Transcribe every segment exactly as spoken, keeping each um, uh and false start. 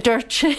Dúirt sé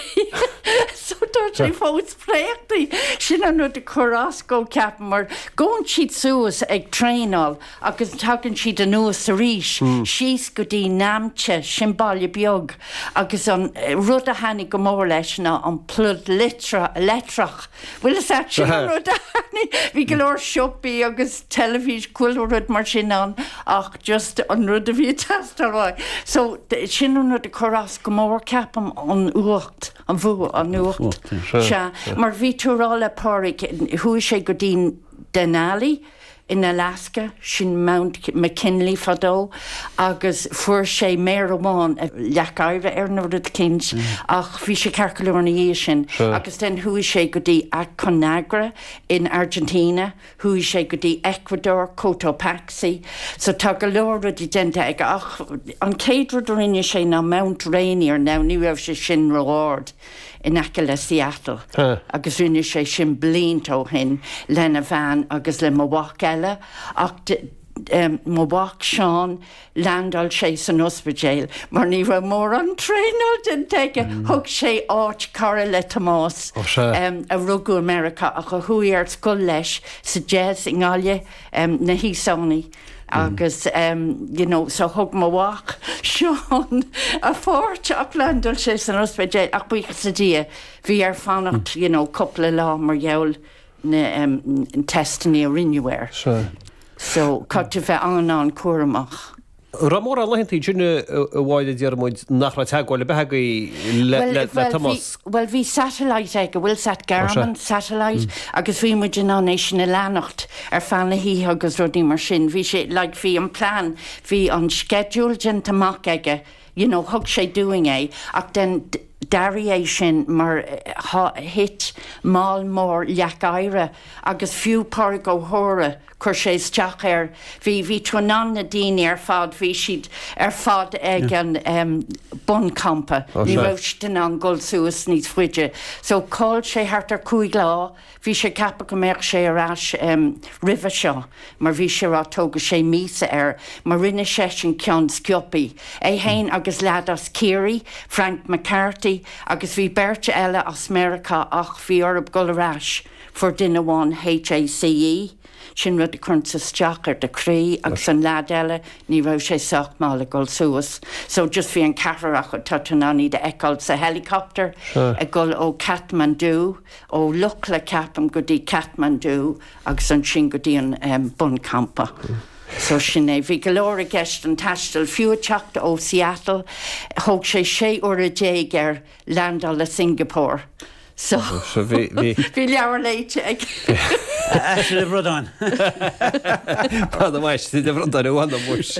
so dúirt sé fós préachtaí sin an rud a chuir as dó ceapaim mar gabhann siad suas ag traenáil agus tagann siad anuas arís síos go dtí Namche sin baile beag agus an rud a thaitnigh go mór leis ná an plug leictreach. Bhfuil a sin an rud a thaitnigh bhí go leor siopaí agus teilifís chuile rud mar sin ann ach just an rud a bhí teastáil. So sin an rud a chuir as go mór ceapaim an fhuacht an bhú an fhuacht Sea mar bhí tú rá le Pádraig chuaigh sé go dtí Denali in Alaska sin Mount McKinley fadó agus fuair sé méar amháin leac oighir ar nó rud éicint ach bhí sé ceart go leor ina dhiaidh sin agus then chuaigh sé go dtí Aconcagua in Argentina, chuaigh sé go dtí Ecuador, Cotopaxi, so tá go leor rudaí déanta aige ach an chéad rud a rinne sé ná Mount Rainier now ní raibh sé sin ró-ard in aice le Seattle agus rinne sé sin blianta ó shin lena bhean agus le mo mhac eile ach um, mo mhac Seán landáil sé san ospidéal mar ní raibh mórán traenáil déanta aige thug sé áit cara le Tomás um, a rugadh America ach a chuaigh ar scoil leis sa Jazz i nGaillimh um, na hÍosánaigh. agus um, you know, so thug mo mhac Seán a pháirt ach landáil sé san ospidéal ach buíochas le Dia bhí air fanacht you know, cúpla lá mar gheall na um, testanna a rinneadh air. So caithfidh tú bheith an an-chúramach. Ra mór an lehantaí sinne a bháile dearmuid nach raibh teagmháil ar bith le Tomás. Well bhí satellite ag go bhfuil sat Garmin satellite agus bhí muid in ann é sin a leanacht ar feadh na hoíche agus rudaí mar sin. Bhí sé like, bhí an plan, bhí an schedule déanta amach aige, you know, thug sé dúinn é ach then d'athraigh é sin mar thit moll mór leac oighir agus fiú Pádraig Ó hÓra chuir sé isteach air bhí bhí tú in ann na daoine ar fad bhí siad ar fad ag an um, buncampa ní raibh siad in ann dul suas níos faide. So chaill sé thart ar cúig lá, bhí sé ceaptha go mbeadh sé ar ais um, roimhe seo, mar bhí sé rá tógfaidh sé míosa air, mar rinne sé sin ceann sciobtha. É féin agus leaid as Ciarraí, Frank McCarthy, agus bhí beirt eile as Meiriceá ach bhí orthu dul ar ais fuair duine amháin HACE, sin rud a chuireann isteach ar do chroí agus an leaid eile ní raibh sé sách maith le dul suas. So just bhí an ceathrar acu tá tú in ann iad a fheiceáil sa helicopter ag dul ó Kathmandu ó Lukla ceapaim go dtí Kathmandu agus ansin go dtí an um, buncampa. So sin é bhí go leor i gceist an taisteal fiú teacht ó Seattle, thóg sé sé uair déag air landáil le Singapore. So bhí bhí leabhar léite ag le Bradán. meis de bhrandán bhna muis.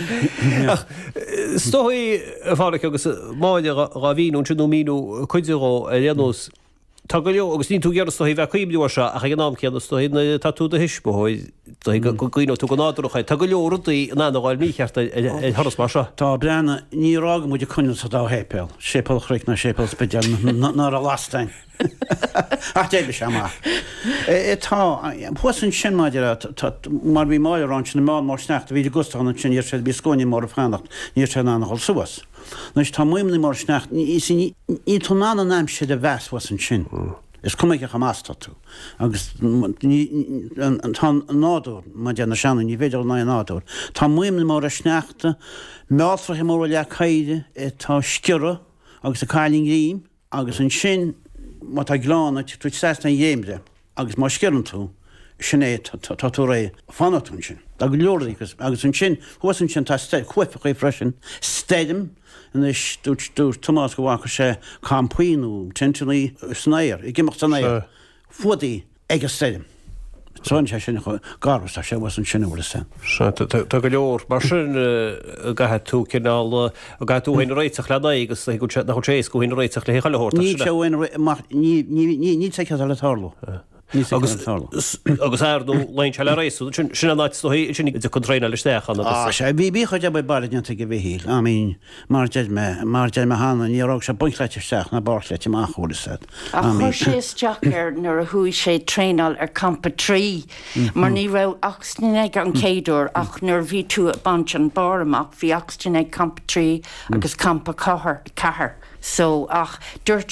Stoí fála agus máide dhá mhíú sin nó míú chuide ar aon Tá go leor agus ní tú gear stoí bheith cuimhniú seo ach ag an am céanna stoí tá tú do thuismitheoir go gcuimhneoidh tú go nádúrach tá go leor rudaí in ann a ghabháil mícheart ar thuras mar seo. Tá breanna ní rága muid coin sa dá shéipéal, Séipéal Chnoic ná Séipéal Spidéal ná a lastain. Ach débe se amach. Tá thuas ansin maidir mar bhí máir an sin má mar sneachta bhí gustan sin níor sé bhí scóine mór fanacht níor sé an dul suas. Anois tá maidhmeanna mór sneachta ní tú in ann an aimsir a mheas thuas ansin. Is cuma cé chomh maith tá tú. Agus tá nádúr mar na sean ní féidir ná nádúr. Tá maidhmeanna móra sneachta, mealltracha móra leac oighir, tá sciorradh agus a cailín ghreim agus ansin má tá gleann tú trasna an dréimire agus má sciorrann tú sin é tá tú réidh fanfaidh tú ansin. Tá go leor agus agus ansin thuas ansin tá cuaifeach freisin stoirm anois dúirt dúirt Tomás go bhfaca sé campaí nó tenteanna san aer ag imeacht san aer fuadaí ag an stoirm. Tá sé sin garbh tá sé was ansin bhfuil san. Tá go leor mar sin caithfidh tú cineál caithfidh tú féin réiteach le n-aghaidh agus nach sé éasca féin réiteach le chuile shórt. Ní sé ní ní ní sé le tarlú. Agus agus ar nó lein se le rééis sin sin an áit sin de chun traenáil isteach an agus. Sé bhí bí chuid obair baile déanta ag Mhichíl I mean mar deir mé mar deir mé cheana ní raibh sé bunchleite isteach ná barrchleite amach bhfuil a fhios agat. Ach chuir sé isteach air nuair a chuaigh sé traenáil ar campa trí mar ní raibh oxygen ag an chéad uair ach nuair a bhí tú ag baint an barr amach bhí oxygen ag campa trí agus campa ceathair ceathair. So ach dúirt